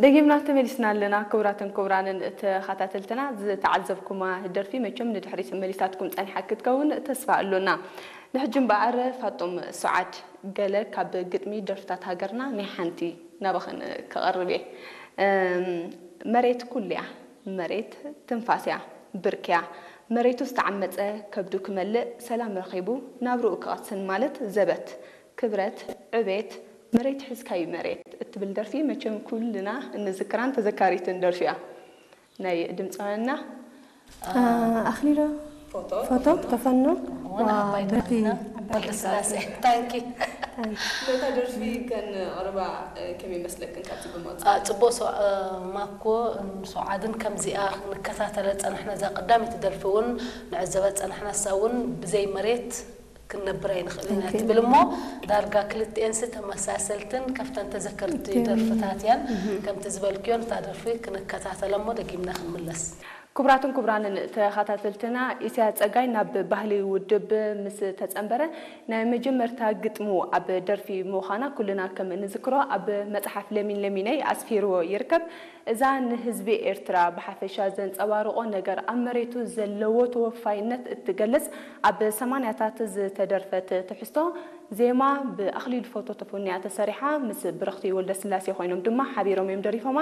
ደጊምና ተመሊስና ኣለና። ክቡራትን ክቡራንን ተኸታተልትና፣ ዝተዓዘብኩማ ደርፊ መቸም ንድሕሪት መሊሳትኩም ጸኒሓ ክትከውን ተስፋ ኣሎና። ንሕጂ እምበኣር ፋጡም ሱዓድ፣ ገለ ካብ ግጥሚ ደርፍታት ሃገርና ናይ ሓንቲ ናባኽን ክቐርብ እየ። እም፣ መሬት ኩሉ እያ፣ መሬት ትንፋስ እያ፣ ብርክ እያ። መሬቱ ዝተዓመጸ ከብዱ ክመልእ፣ ሰላም ረኺቡ ናብርኡ ክቐስን ማለት ዘበት፣ ክብረት፣ ዕቤት፣ መሬት ሒዝካዩ መሬት እትብል ደርፊ መቸም ኩልና እንዝክራን ተዘካሪትን ደርፊ እያ። ናይ ድምፃውያንና ኣኽሊሎ ፎቶ ተፈኖ እውን ኣባይ በቲ ተባሂልና ወልደስላሴ። ታንኪ። ነታ ደርፊ ከነቕርባ ከመይ መስለክን ካብቲ ብምቕጻል? ኣ፣ ጽቡቕ ሰው ኣ፣ ማኮ ም፣ ሰውዓድን ከምዚኣ ክንከታተለ ጸናሕና። እዛ ቀዳመይቲ ደርፊ እውን ንዕዘባ ጸናሕና። እሳ እውን ብዘይ መሬት ክንነብር ኣይንኽእልን እያ ትብል እሞ ዳርጋ ክልቲኤንስ ተመሳሰልትን ካብተን ተዘከርቲ ደርፍታት እያን። ከምቲ ዝበልክዮ ነታ ደርፊ ክንከታተለ እሞ ደጊምና ክንምለስ። ክቡራትን ክቡራንን ተኸታተልትና፣ ኢሳያስ ጸጋይ ናብ ባህሊ ውድብ ምስ ተጸንበረ ናይ መጀመርታ ግጥሙ ኣብ ደርፊ ምዃና ኩልና ከም እንዝክሮ ኣብ መጽሓፍ ለሚን ለሚነይ ኣስፊርዎ ይርከብ። እዛ ንህዝቢ ኤርትራ ብሓፈሻ ዘንጸባርቖ ነገር ኣብ መሬቱ ዘለዎ ተወፋይነት እትገልጽ ኣብ ሰማንያታት ዝተደርፈት ትሕዝቶ ዜማ ብኣኽሊሉ ፎቶ ተፈንያ ተሰሪሓ ምስ ብርኽቲ ወልደስላሴ ኮይኖም ድማ ሓቢሮም እዮም ደሪፎማ።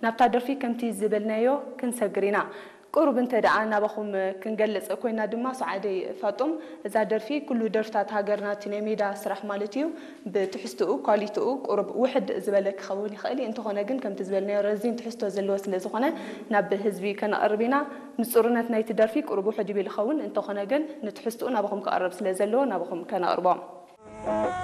ናብታ ደርፊ ከምቲ ዝበልናዮ ክንሰግር ኢና። ቁሩብ እንተ ደኣ ናባኹም ክንገልጽ ኮይና ድማ፣ ሰዓደይ ፋጡም፣ እዛ ደርፊ ኩሉ ደርፍታት ሃገርና እቲ ናይ ሜዳ ስራሕ ማለት እዩ፣ ብትሕዝትኡ ኳሊቲኡ ቁሩብ ውሕድ ዝበለ ክኸውን ይኽእል እዩ። እንተኾነ ግን ከምቲ ዝበልናዮ ረዚን ትሕዝቶ ዘለዎ ስለ ዝኾነ ናብ ህዝቢ ከነቕርብ ኢና። ንጹርነት ናይቲ ደርፊ ቁሩብ ውሕድ ይብል ይኸውን፣ እንተኾነ ግን ንትሕዝትኡ ናባኹም ክቐርብ ስለ ዘለዎ ናባኹም ከነቕርቦ።